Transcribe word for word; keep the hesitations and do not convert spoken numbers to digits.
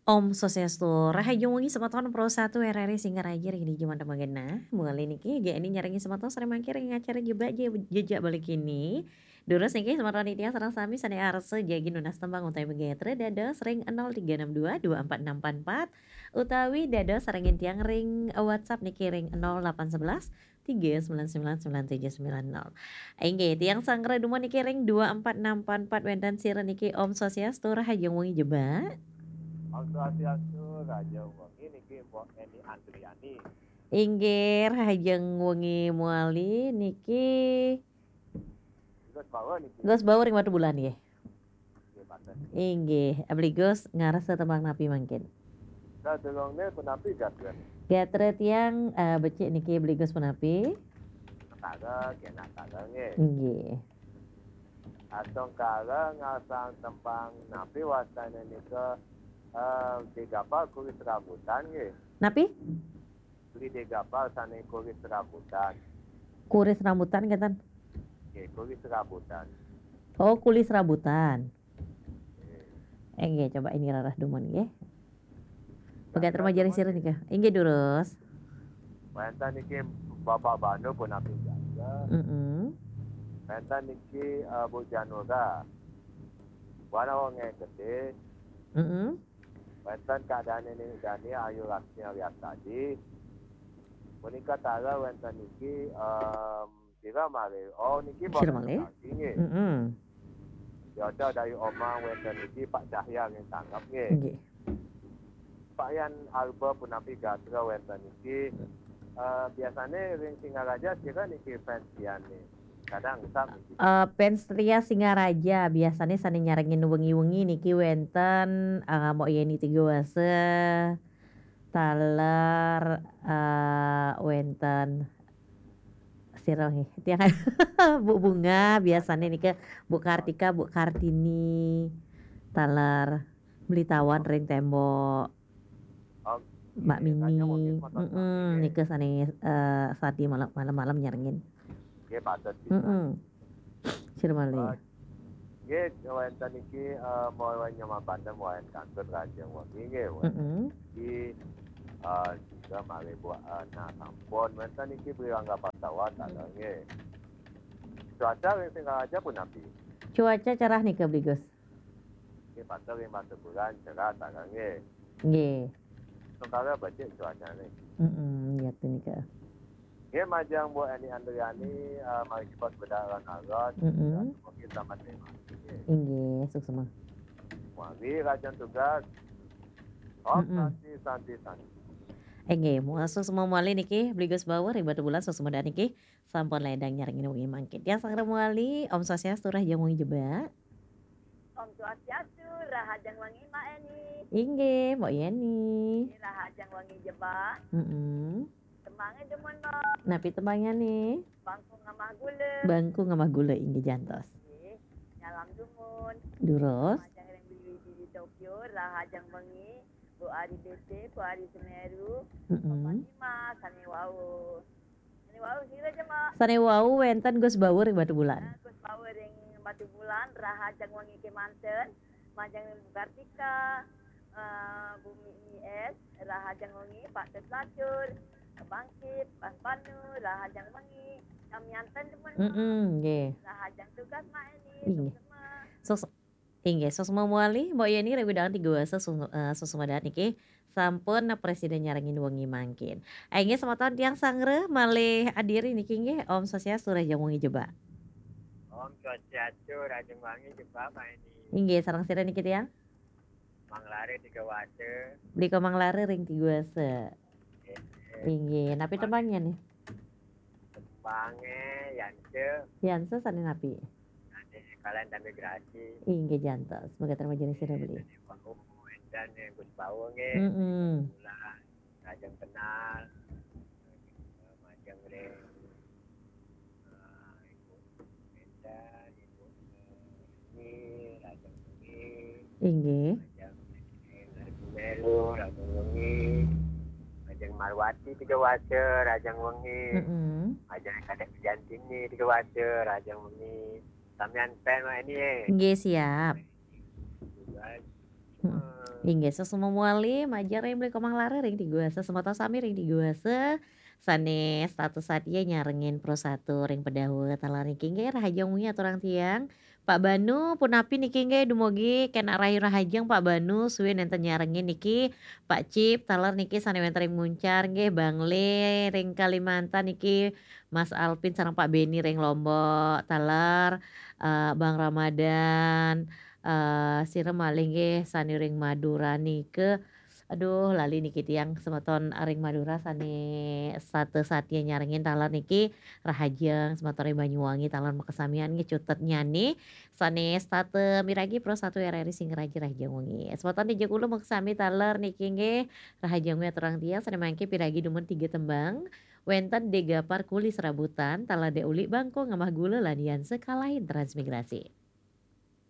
Om Swastiastu, rahajeng wengi semeton Pro satu R R I Singaraja ring dija mangkin. Malih niki, G N I nyarengin semeton sareng mangkin ring acara Jebak Je-, Jejak Bali kini. Durus niki semeton titiang sareng sami sane arsa jagi nunas tembang utawi magatra dados ring nol tiga enam dua dua empat enam empat empat utawi dados sarengin tiang ring WhatsApp niki ring nol delapan sebelas tiga sembilan sembilan sembilan tujuh sembilan nol. Inggih, tiang sanggra dumun niki ring dua empat enam empat empat wenten sira niki. Om Swastiastu, rahajeng wengi Jebak. Om Swastiastu, rahajeng wengi niki Mbok Eni Andriani. Inggih, rahajeng wengi malih niki. Gus Bawa niki. Gus Bawa ring Batubulan nggih. Nggih, pantes. Inggih, Beli Gus ngarsa tembang napi mangkin? Sadurungne punapi gatra? Gatra tiang, eh, becik niki Beli Gus punapi? Natara, nggih, Natara nggih. Inggih. Astungkara ngarsang tembang napi wastane nika, eh, Degapal Kuris Rambutan nggih. Napi? Beli Degapal sane kuris rambutan. Kuris rambutan ngeten? Nggih, kuris rambutan. Oh, kulis rambutan. Nggih. Inggih, coba ini rarah dumun nggih. Pegat remaja ring sira nika. Inggih, durus. Wenten niki Bapak Banu punapi gatra. Mm-mm. Wenten niki, eh, Bu Janura. Wana wonge gede. Mm-mm. Wenten Kak Dani, Dani Ayu Laksmi Aryastadi. Punika taler wenten niki, em, sira malih. Oh, niki sira malih? Nggih. Mm-mm. Yoda Dayu Omang wenten niki Pak Cahya ring Tanggap nggih. Nggih. Pak Yan Alba punapi gatra wenten niki. Eh, biasane ring Singaraja sira niki fans Yan nih. Kadang sami. Eh, fans setia Singaraja biasane sane nyarengin wengi-wengi niki wenten, eh, Mbok Yeni Tiga Wasa, taler, eh, wenten sira nggih. Tiang Bu Bunga biasane nika, Bu Kartika, Bu Kartini, taler Beli Tawan ring Tembok. Om, Mbak Mini, mm-mm, nika sane, eh, sadi malem, malem-malem nyarengin. Nggih, patut. Mm-mm. Sira malih. Eh, nggih, wenten niki, eh, mawi nyama bandem, wayan kantun rahajeng wengi nggih, wenten. Mm-mm. Niki, eh, juga malih buat, eh, nah, sampun wenten niki Beli Rangga Pasawan, mm, taler nggih. Cuaca ring Singaraja punapi? Cuaca cerah nika, Beli Gus. Nggih, patut ring Batubulan cerah taler nggih. Nggih. Sementara becik cuacane. Mm-mm, ya, tu nika. Nggih, majeng Bu Eni Andriani, eh, mari kita bedak alon-alon. Mm-mm. Mungkin selamat menikmati nggih. Inggih, suksma. Mari, rahajeng tugas. Om, mm-mm, Santi, Santi, Santi. Inggih, suksma malih niki, Beli Gus Bawa ring Batubulan, suksma dahat niki. Sampun ledang nyarengin wengi mangkin. Tiang sanggra malih, Om Swastiastu, rahajeng wengi Jebak. Om Swastiastu, rahajeng wengi Mbak Eni. Inggih, Mbok Yeni. Rahajeng wengi Jebak. Mm-mm. Tembange dumun, Mbok. Napi tembange nih? Bangku ngamah gula. Bangku ngamah gula, inggih jantos. Nggih, nyalam dumun. Durus. Majeng ring Bibi, Bibi Tokyo, rahajeng wengi, Bu Ari B C, Bu Ari Semeru, mm-mm, Bapak Dimas, sane wau. Sane wau sira ja, Mbok? Sane wau wenten Gus Bawa ring Batubulan. Nah, Gus Bawa ring Batubulan, rahajeng wengi kemanten, majeng Bu Kartika, eh, Bu Mi-, Mi S, rahajeng wengi, Pak Tet Lacur, Bangkit, Bang Panu, rahajeng wengi, samianten demen, Mbok. Mm-mm, nggih. Rahajeng tugas, Mbok Eni, inggih. Suksma. Sus-, inggih, suksma malih, Mbok Yeni, ring wewidangan Tiga Wasa, su-, eh, suksma dahat niki. Sampun presida nyarengin wengi mangkin. Inggih, semeton tiang sanggra malih adiri niki nggih, Om Swastiastu, rahajeng wengi Jebak. Om Swastiastu, rahajeng wengi Jebak, Mbok Eni. Inggih, sareng sira niki tiang? Mang Lare Tiga Wasa. Beli Komang Lare ring Tiga Wasa. Nggih. Inggih, napi tembange nih? Tembange Yanse. Yanse sane napi? Sane Kalian Damai Grasi. Inggih jantos. Mekaten majeng sira Beli. Sane wau, edan Gus Bawa nggih. Mm-mm. Rahajeng kenal. Majeng ring, eh, Ibu Menda, Ibu, eh, Ni, rahajeng wengi. Inggih. Majeng Melu, rahajeng wengi. Majeng Marwati Tiga Wasa, rahajeng wengi. Mm-mm. Majeng Kadek Jantini Tiga Wasa, rahajeng wengi. Samian pen, Mbok Eni, eh. Nggih, siap. Tugas. Mm-mm. Eh, Inggih, suksma mawali, majeng ring Beli Komang Lara ring Tiguasa, semeton sami ring Tiguasa, sane setata satia nyarengin Pro Satu ring Pedawet, taler niki inggih, rahajeng wengi aturang tiang. Pak Banu, punapi niki inggih, dumugi kenak rahayu rahajeng Pak Banu, suwin nenten nyarengin niki, Pak Cip, taler niki sane wenten ring Muncar, inggih, Bang Le ring Kalimantan niki, Mas Alvin sareng Pak Beni ring Lombok, taler, eh, Bang Ramadan, eh, sira malih nggih sane ring Madura nika. Aduh, lali niki tiang semeton ring Madura sane setata satia nyarengin taler niki rahajeng semeton ring Banyuwangi taler makasamian nggih cutetnyane sane setata miragi Pro Satu R R I Singaraja rahajeng wengi. Semeton ring Jekulo makasami taler niki nggih rahajeng wengi aturang tiang sane mangke piragi dumun tiga tembang. Wenten De Gapar Kuli Serabutan, taler De Uli Bangko Ngamah Gula lan Yan Sekalahin Transmigrasi.